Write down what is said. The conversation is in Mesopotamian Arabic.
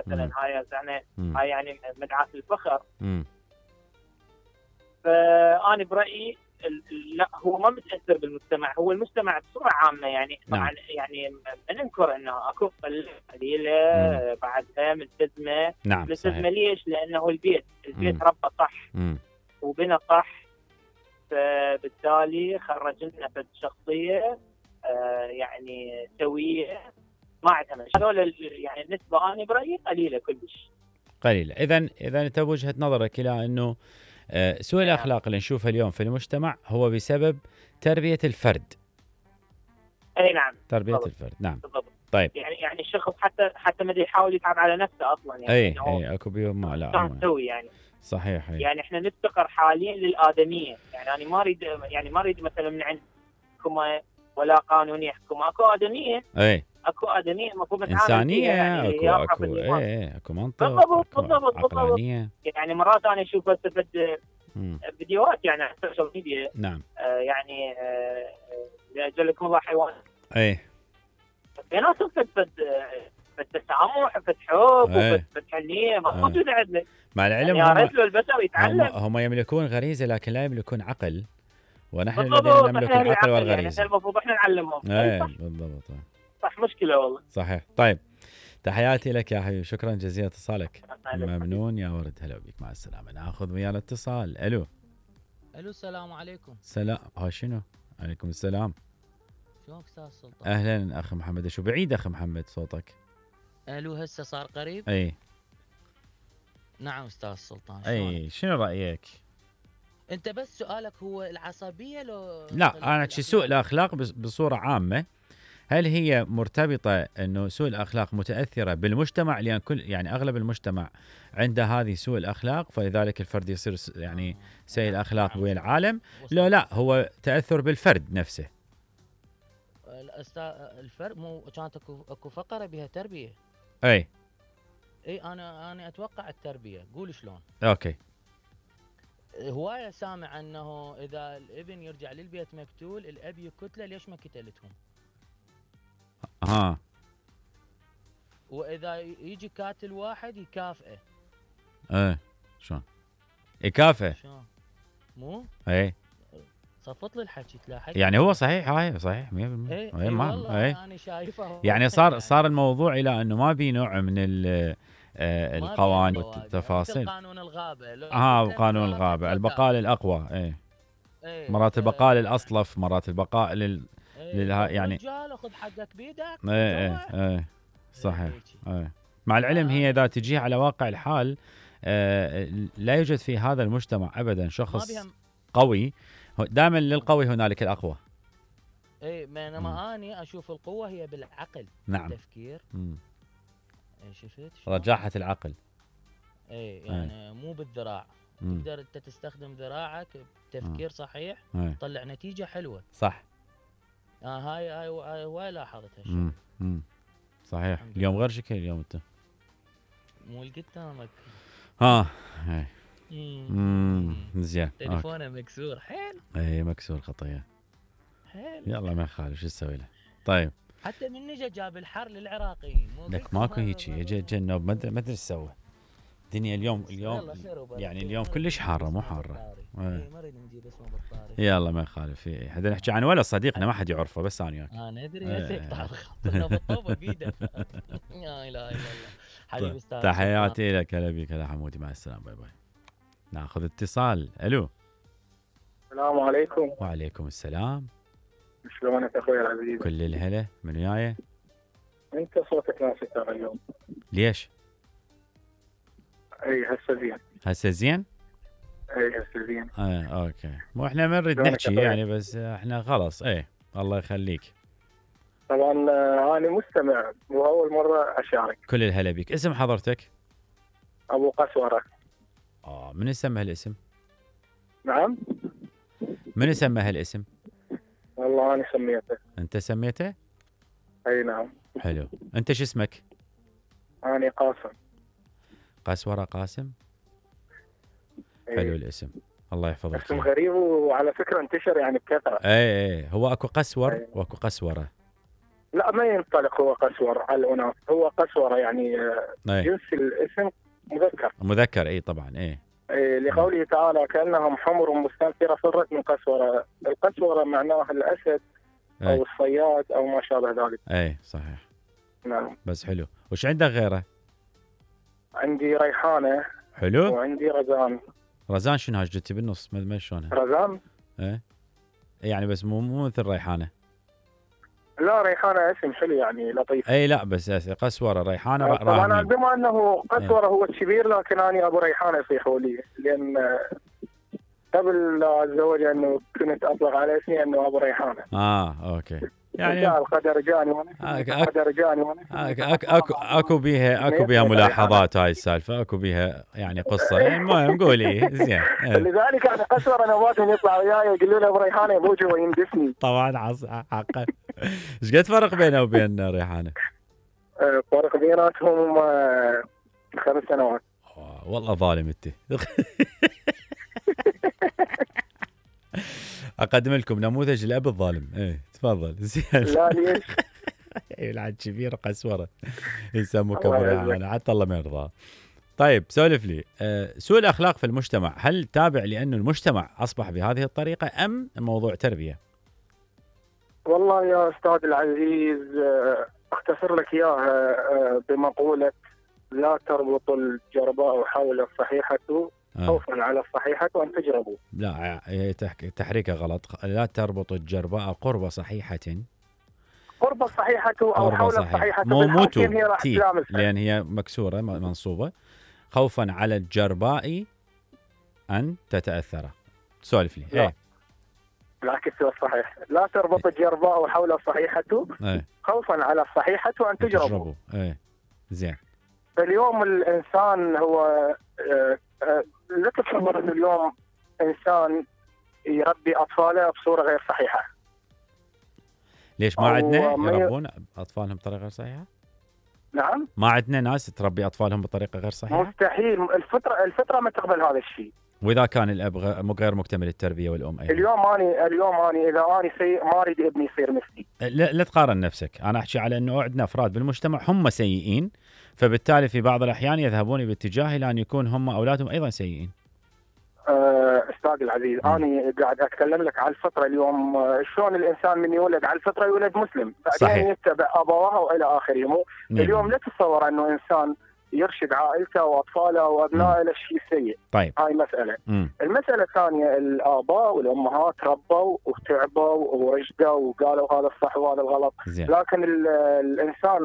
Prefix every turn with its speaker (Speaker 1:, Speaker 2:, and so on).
Speaker 1: مثلا هاي يعني مدعاة الفخر.
Speaker 2: مم.
Speaker 1: فأنا برأيي لا، هو ما متأثر بالمجتمع، هو المجتمع بصورة عامة يعني.
Speaker 2: نعم.
Speaker 1: طبعا يعني ما ننكر انه اكو قليلة بعدها ملتزمة.
Speaker 2: نعم
Speaker 1: ملتزمة ليش؟ لانه البيت ربى صح
Speaker 2: مم.
Speaker 1: وبنى صح، فبالتالي خرج لنا فد شخصية يعني سوية ما عندها مشاكل. هذول يعني النسبة أنا برأيي قليلة كلش.
Speaker 2: قليلة. إذا أنت بوجهة نظرك إلى أنه سوء الأخلاق اللي نشوفها اليوم في المجتمع هو بسبب تربية الفرد.
Speaker 1: أي نعم.
Speaker 2: تربية
Speaker 1: بالضبط.
Speaker 2: الفرد. نعم.
Speaker 1: بالضبط.
Speaker 2: طيب.
Speaker 1: يعني الشخص حتى ما يحاول يتعب على نفسه أصلا يعني.
Speaker 2: أي أكو بيوم ما لا.
Speaker 1: نسوي يعني.
Speaker 2: صحيح.
Speaker 1: يعني إحنا نفتقر حاليا للآدمية. يعني أنا ما أريد مثلا من عند حكومة ولا قانون يحكم. أكو آدمية.
Speaker 2: أي.
Speaker 1: اكو آدمية المفروض نتعامل
Speaker 2: إنسانية.
Speaker 1: فيها يعني.
Speaker 2: أكو منطق.
Speaker 1: بالضبط. يعني مرات أنا أشوف فيديوهات يعني على السوشيال ميديا.
Speaker 2: نعم.
Speaker 1: يعني لأجلكم الله حيوان.
Speaker 2: أي.
Speaker 1: ناس فالتسامح فالحب فالحنية ما موجودة عندنا.
Speaker 2: مع العلم
Speaker 1: يعني له البشر يتعلم.
Speaker 2: هم يملكون غريزة لكن لا يملكون عقل، ونحن الذين نملك
Speaker 1: إحنا
Speaker 2: العقل
Speaker 1: يعني
Speaker 2: والغريزة.
Speaker 1: المفروض احنا نعلمهم.
Speaker 2: بالضبط.
Speaker 1: صح، مشكلة والله.
Speaker 2: صحيح. طيب، تحياتي لك يا حبيبي، شكرا جزيلا اتصالك. ممنون يا ورد، هلا بك، مع السلامة. ناخذ ويا الاتصال. الو
Speaker 3: السلام عليكم.
Speaker 2: سلام. شنو؟ عليكم السلام.
Speaker 3: شلونك استاذ سلطان؟
Speaker 2: اهلا اخ محمد. شو بعيد اخ محمد صوتك؟
Speaker 3: هسه صار قريب؟
Speaker 2: اي
Speaker 3: نعم استاذ سلطان.
Speaker 2: اي شنو رايك؟
Speaker 3: انت بس سؤالك هو العصبيه لو
Speaker 2: لا، انا احكي سوء الاخلاق بصوره عامه. هل هي مرتبطه انه سوء الاخلاق متاثره بالمجتمع، لان يعني اغلب المجتمع عنده هذه سوء الاخلاق، فلذلك الفرد يصير يعني سيء الاخلاق ويا العالم؟ لا هو تاثر بالفرد نفسه.
Speaker 3: الفرد مو كانت اكو فقره بها تربيه.
Speaker 2: اي
Speaker 3: انا اتوقع التربيه. قول شلون.
Speaker 2: اوكي.
Speaker 3: هوايه سامع انه اذا الابن يرجع للبيت مقتول الاب يقتله، ليش ما قتلتهم؟ واذا يجي قاتل واحد يكافئه.
Speaker 2: شلون يكافئه؟
Speaker 3: شلون مو
Speaker 2: اي
Speaker 3: صفط لي الحكي تلاحظ.
Speaker 2: يعني هو صحيح، هاي صحيح 100%.
Speaker 3: اي والله انا شايفه.
Speaker 2: يعني صار الموضوع الى انه ما بي نوع من القوانين والتفاصيل.
Speaker 3: قانون الغابه.
Speaker 2: قانون الغابه، البقاء للاقوى. مرات البقاء للاصلف، مرات البقاء يعني
Speaker 3: رجال خذ حقك بيدك.
Speaker 2: صحيح. مع العلم هي اذا تجي على واقع الحال لا يوجد في هذا المجتمع ابدا شخص قوي. دائما للقوي هنالك الاقوى.
Speaker 3: بينما اني اشوف القوه هي بالعقل.
Speaker 2: نعم.
Speaker 3: التفكير. شفت
Speaker 2: رجاحه العقل.
Speaker 3: يعني مو بالذراع. تقدر انت تستخدم ذراعك بتفكير صحيح تطلع نتيجه حلوه.
Speaker 2: صح.
Speaker 3: هاي لاحظتها.
Speaker 2: صحيح. اليوم غير شكل. اليوم انت
Speaker 3: مو قدامك.
Speaker 2: زين.
Speaker 3: تليفونه مكسور حيل.
Speaker 2: مكسور خطيه.
Speaker 3: حيل.
Speaker 2: يلا ما يخالف، شو نسوي له؟ طيب.
Speaker 3: حتى من نجا جاب الحر للعراقيين.
Speaker 2: لك ماكو هيك، اجى النوب ما ادري ايش سوى. الدنيا اليوم يعني اليوم كلش حاره، مو حاره.
Speaker 3: ما نريد نجيب اسمه بالطاري.
Speaker 2: يلا ما يخالف. حدا نحكي عن ولا صديقنا ما حد يعرفه، بس انا وياك.
Speaker 3: انا ادري هسه يقطع خاطرنا بالطوبه بيده. لا اله الا الله. حبيبي استاذ.
Speaker 2: تحياتي لك. هلا بك. هلا حمودي، مع السلامه. باي باي. ناخذ اتصال. الو
Speaker 4: السلام عليكم.
Speaker 2: وعليكم السلام.
Speaker 4: شلونك اخوي العزيز؟
Speaker 2: كل الهلا. من وياي؟
Speaker 4: انت صوتك ناسي ترى اليوم.
Speaker 2: ليش؟
Speaker 4: هسه زين. هسه زين.
Speaker 2: اوكي. مو احنا ما نريد نحكي يعني، بس احنا خلاص. الله يخليك.
Speaker 4: طبعا انا مستمع واول مره اشارك.
Speaker 2: كل الهلا بك. اسم حضرتك؟
Speaker 4: ابو قسوره.
Speaker 2: من سمى هالاسم؟
Speaker 4: نعم.
Speaker 2: من سمى هالاسم؟
Speaker 4: والله انا سميته.
Speaker 2: انت سميته؟
Speaker 4: اي نعم.
Speaker 2: حلو. انت شو اسمك؟
Speaker 4: انا قاسم.
Speaker 2: قسوره قاسم. حلو الاسم، الله يحفظك.
Speaker 4: اسم غريب وعلى فكره انتشر يعني بكثره.
Speaker 2: هو اكو قسور واكو قسوره.
Speaker 4: لا ما ينطلق هو قسور على الأناث، هو قسورة يعني جنس الاسم مذكر.
Speaker 2: اي طبعا
Speaker 4: لقوله تعالى كأنهم حمر مستنفرة فرت من قسورة. القسورة معناها الأسد أو الصياد أو ما شابه ذلك.
Speaker 2: صحيح.
Speaker 4: نعم.
Speaker 2: بس حلو. وش عندك غيره؟
Speaker 4: عندي ريحانة.
Speaker 2: حلو.
Speaker 4: وعندي رزان.
Speaker 2: رزان شنو هاي جتي بالنص ما شلونها؟
Speaker 4: رزان
Speaker 2: يعني بس مو مثل ريحانة.
Speaker 4: لا ريحانة اسم حلو يعني لطيف.
Speaker 2: لا بس قسورة ريحانة
Speaker 4: طبعا بما انه قسورة هو الكبير، لكن انا ابو ريحانة يصيحوا لي، لان قبل لا اتزوج انه كنت اطلق على اسمي انه ابو ريحانة.
Speaker 2: اوكي. يعني
Speaker 4: القدر جاني
Speaker 2: اكو بيها ملاحظات هاي السالفه، اكو بيها يعني قصه. المهم قولي زين.
Speaker 4: لذلك انا قسوره نباتهم يطلع وياي يقولوا له ابو ريحانه ابوجي ويندفني.
Speaker 2: طبعا حقا. ايش قد فرق بينه وبين ريحانه؟
Speaker 4: فرق بيناتهم 5 سنوات.
Speaker 2: والله ظالم انت. اقدم لكم نموذج الاب الظالم. تفضل. زين.
Speaker 4: لا ليش؟
Speaker 2: العاد كبير قسوره يسموك ابو ريحانه حتى الله ما يرضى. طيب سولف لي، سوء الاخلاق في المجتمع هل تابع لانه المجتمع اصبح بهذه الطريقه ام موضوع تربيه؟
Speaker 4: والله يا استاذ العزيز اختصر لك اياها بمقوله لا تربط الجرباء حول الصحيحه خوفا على الصحيحه وان تجربوا.
Speaker 2: لا تحريكه غلط. لا تربط الجرباء قرب صحيحه.
Speaker 4: قرب الصحيحه او حول الصحيحه.
Speaker 2: مو تي لان هي مكسوره منصوبه. خوفا على الجرباء ان تتاثر. سولف لي.
Speaker 4: العكس هو الصحيح. لا تربط الجرباء حول الصحيحه خوفا على الصحيحه وان تجربوا.
Speaker 2: زين.
Speaker 4: اليوم الانسان هو لا تتصور انه اليوم انسان يربي اطفاله بصوره غير صحيحه.
Speaker 2: ليش ما عندنا يربون اطفالهم بطريقه غير صحيحه؟
Speaker 4: نعم.
Speaker 2: ما عندنا ناس تربي اطفالهم بطريقه غير صحيحه؟
Speaker 4: مستحيل. الفطره ما تقبل هذا الشيء.
Speaker 2: واذا كان الاب غير مكتمل التربيه والام ايضا.
Speaker 4: اليوم اني اذا اني سيء ما اريد ابني يصير مثلي.
Speaker 2: لا تقارن نفسك. انا احكي على انه عندنا افراد بالمجتمع هم سيئين، فبالتالي في بعض الاحيان يذهبون باتجاه الى ان يكون هم اولادهم ايضا سيئين.
Speaker 4: استاذ العزيز انا قاعد اتكلم لك على الفطره. اليوم شلون الانسان من يولد على الفطره يولد مسلم، بعدين يتبع ابواه والى اخره. اليوم لا تتصور انه انسان يرشد عائلته واطفاله وابنائه للشيء السيء.
Speaker 2: طيب.
Speaker 4: هاي مساله. المساله الثانيه الاباء والامهات ربوا وتعبوا ورشدوا وقالوا هذا الصح وهذا الغلط.
Speaker 2: زين.
Speaker 4: لكن الانسان